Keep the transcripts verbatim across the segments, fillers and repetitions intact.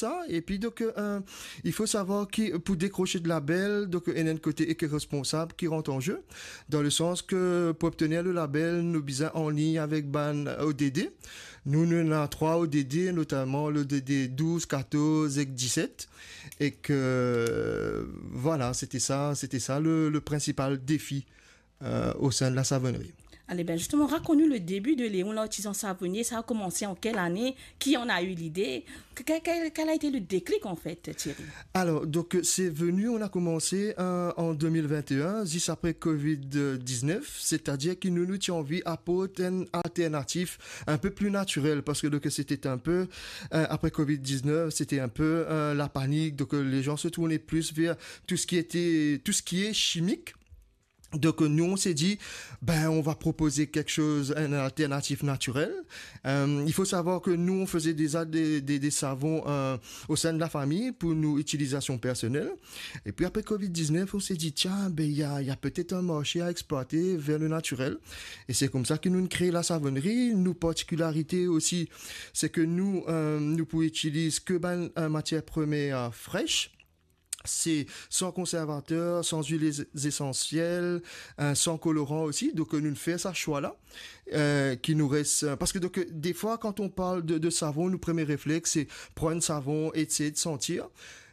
sa. Epi donk, euh, il faut savoir ki pou dekrose de label, donk, euh, ena enn kote ekoresponsab ki rant an ze, dan le sans ke pou obtenir le label, nou bizin anlign avek bann O D D. Nou, nou ena trwa O D D, notaman le O D D douz, katorz ek diset. E ke, vwala, sete sa, sete sa le, le prinsipal defi, euh, au sein de la savonnerie. Ale, ben, justement, raconte-nous le début de Léon l'artisan savonnier. Ça a commencé en quelle année? Qui en a eu l'idée? Que-, que-, quel, quel a été le déclic, en fait, Thierry? Alors, donc, euh, c'est venu, on a commencé, euh, en deux mille vingt et un, juste après covid dix-neuf, c'est-à-dire que nou, nou ti anvi aport enn alternatif un peu plus naturel, parce que, donc, c'était un peu, euh, après covid dix-neuf, c'était un peu, euh, la panique, donc, euh, les gens se tournaient plus vers tout ce qui était, tout ce qui est chimique. Donc, euh, nous, on s'est dit, ben, on va proposer quelque chose, un alternatif naturel. Euh, il faut savoir que nous, on faisait déjà des, des, des savons, euh, au sein de la famille pour nos utilisations personnelles. Et puis après covid dix-neuf, on s'est dit, tiens, ben, il y a, il y a peut-être un marché à exploiter vers le naturel. Et c'est comme ça que nou, nou kre la savonnerie. Nou particularité aussi, c'est que nou, euh, nou pou itiliz ke bann, euh, matières premières, euh, fraîches. C'est sans conservateur, sans huiles essentielles, euh, sans colorant aussi. Donc, euh, nou fer sa swa la, euh, ki nou res, euh, parce que donc, euh, des fois, quand on parle de, de savon, nou premie refleks, c'est prendre savon, essayer de sentir.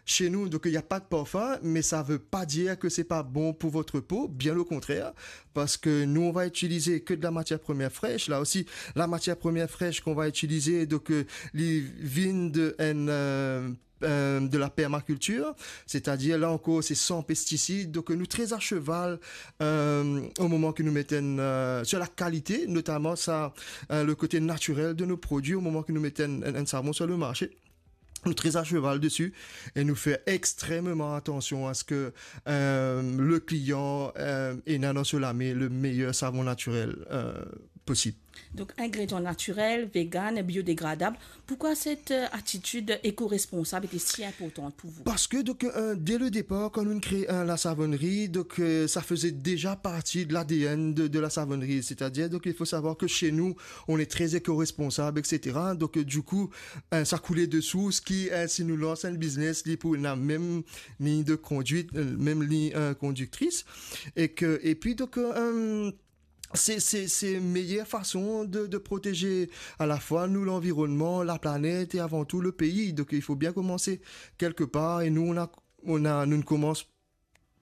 Chez nous, donc, il n'y a pas de parfum, mais ça veut pas dire que c'est pas bon pour votre peau, bien au contraire, parce que nous, on va utiliser que de la matière première fraîche. Là aussi, la matière première fraîche qu'on va utiliser, donc, euh, li vinn de, euh, euh, de la permaculture, c'est-à-dire, là encore, c'est sans pesticides. Donc, euh, nou très à cheval, euh, au moment que nous mettons, euh, sur la qualité, notamment ça, euh, le côté naturel de nos produits, au moment que nous mettons un, un savon sur le marché. Nou très à cheval dessus et nou fer extrêmement attention à ce que, euh, le client, euh, ena dan so lame le meilleur savon naturel, euh, possible. Donc, ingrédients naturels, vegan, biodégradable. Pourquoi cette, euh, attitude éco-responsable était si importante pour vous? Parce que, donc, euh, dès le départ, quand nou kre, euh, la savonnerie, donc, euh, ça faisait déjà partie de l'A D N de, de la savonnerie. C'est-à-dire, donc, il faut savoir que chez nous, on est très éco-responsable, et cetera. Donc, euh, du coup, euh, sa koule de sours ki, euh, si nou lans enn biznes, li pou ena mem lign de conduite, euh, mem lign, euh, conductrice. Et que, et puis, donc, euh, c'est, c'est, c'est meilleure façon de, de protéger à la fois nous, l'environnement, la planète et avant tout le pays. Donc, il faut bien commencer quelque part et nous, on a, on a, nou, nou koumans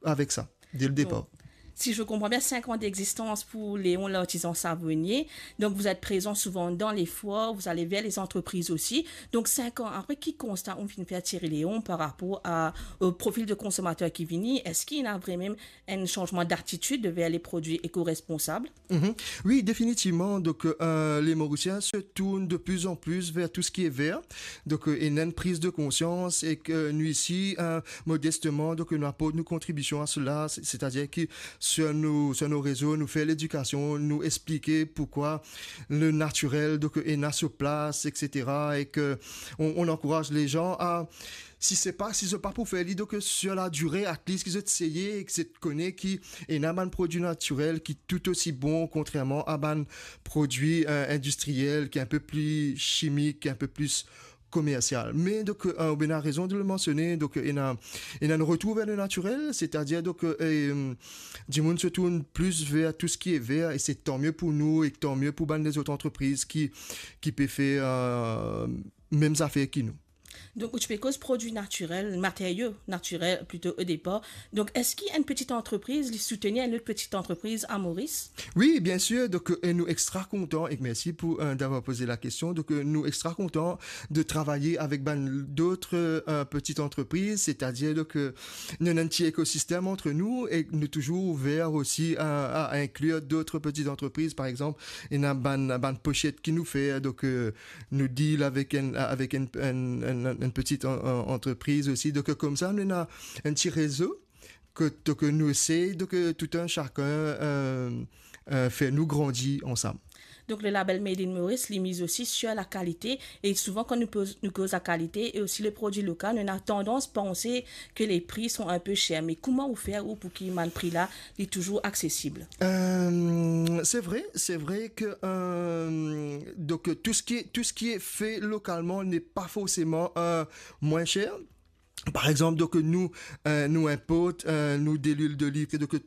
avec ça, dès le départ. Donc, si je comprends bien, cinq ans d'existence pour Léon l'artisan savonnier. Donc, vous êtes présent souvent dans les foires, vous allez vers les entreprises aussi. Donc, cinq ans après, ki konsta ou finn fer Thierry Léon par rapport à, au profil de consommateur ki vini? Est-ce qu'il y a vraiment un changement d'attitude vers les produits éco-responsables? Mhm. Oui, définitivement. Donc, euh, les Mauriciens se tournent de plus en plus vers tout ce qui est vert. Donc, euh, il y a une prise de conscience et que nous ici, euh, modestement, donc, nous apportons nos contributions à cela. C'est-, c'est-à-dire que sur nos, sur nos réseaux, nou fer l'éducation, nou expliquer pourquoi le naturel, donc, euh, ena so plas, et cetera. Et que on, on encourage les gens à si se pa, si zot pa pou fer li, donk, euh, sur la durée, at least ki zot seye, ki zot kone ki ena bann produi natirel ki tou osi bon, kontrerman a bann produi, euh, industriel, ki enpe pli chimik, ki enpe pli komersial. Me donk, euh, ou bien ena rezon de le mansione, donk, euh, ena, ena enn retour ver le natirel, setadir, donk, euh, e, euh, dimoun se tourn plis ver tou seki e ver, e se tan mie pou nou, e tan mie pou bann lezot antrepriz ki, ki pe fer, euh, mem zafer ki nou. Donk, ou ti pe koz produi natirel, materio natirel plito o depar. Donk, eski enn peti antrepriz, li soutenir enn lot peti antrepriz a Moris? Wi, bien sir. Donk, euh, e nou extra kontan, e mersi pou, euh, d'avoir posé la question. Donk, euh, nou extra kontan de travay avek bann dot, euh, peti antrepriz, setadir, donk, euh, nou ena enn ti ekosistem ant nou e nou touzour ouver osi a, a inklir dot peti antrepriz. Par exanp, ena bann, bann poset ki nou fer, donk, euh, nou deal avek enn, avek enn, enn, enn, enn peti an, an, antrepriz osi. Donk, euh, koumsa, nou ena enn ti rezo ke, donk, euh, nou esey, donk, euh, tou enn sakenn, euh, euh, fer nou grandi ansam. Donc le label Made in Maurice, li miz aussi sur la qualité. Et souvent, quand nous, pose- nous cause la qualité et aussi les produits locaux, on a tendance à penser que les prix sont un peu chers. Mais comment vous faire ou pour que le prix-là est toujours accessible? Euh, c'est vrai, c'est vrai que euh, donc tout ce qui est tout ce qui est fait localement n'est pas forcément euh, moins cher. Par exemple, donc nous euh, nous importe euh, nous de l'huile d'olive, donc